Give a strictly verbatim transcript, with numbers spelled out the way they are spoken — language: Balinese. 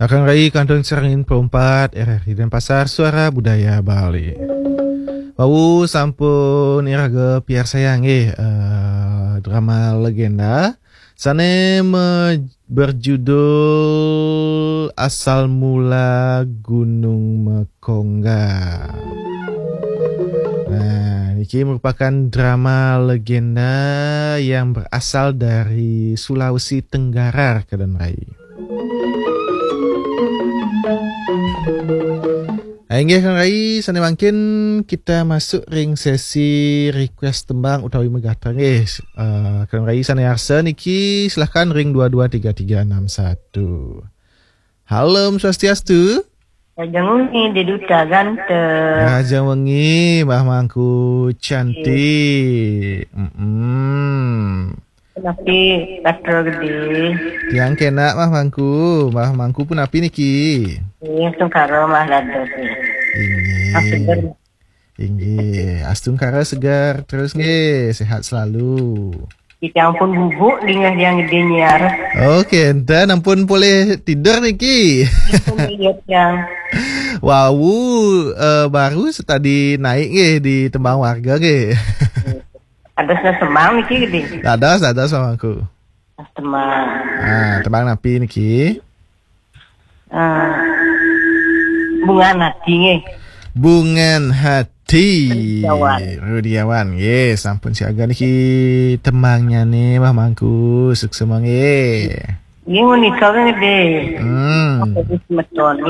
Kakang Rai kantun sareng perempat R R I Denpasar, Suara Budaya Bali. Wau sampun iraga piarsayang nggih, eh, drama legenda sane me-, berjudul Asal Mula Gunung Mekongga. Nah, niki merupakan drama legenda yang berasal dari Sulawesi Tenggara, Kakang Rai. Ah, inggih, Kakang Rai, sane mangkin kita masuk ring sesi request tembang utawi megatra nggih. Eh, Kakang Rai sane arsa niki, silahkan ring dua dua tiga tiga enam satu. Halo, Om Swastiastu. Rahajeng wengi, Dek Duta ganteng. Rahajeng wengi, Mbah Mangku cantik. Mm-mm. Punapi, Gatra Gede? Tiang kenak, Mbah Mangku. Mbah Mangku punapi niki? Nggih, astungkara, Mbah, dados nggih. Inggih. Astungkara segar terus nggih, sehat selalu. Kita ampun bubuk dingeh Yang Gede nyiar. Oke, enten ampun polih tidur niki. Ampun, iya, Yang. Wau, eh, baru setadi naik nggih di tembang warga nggih. Ada semang niki, Gede? Ada, ada semangku. Semang. Ah, tembang napi niki? Ah, Bungan Hati nggih. Bungan Hati. Rudiawan. Rudiawan, nggih, sampun siaga niki tembangnyane, Mbah Mangku. Suksema nggih. Nggih, menika nggih, Gede. Hmm. Semeton nggih.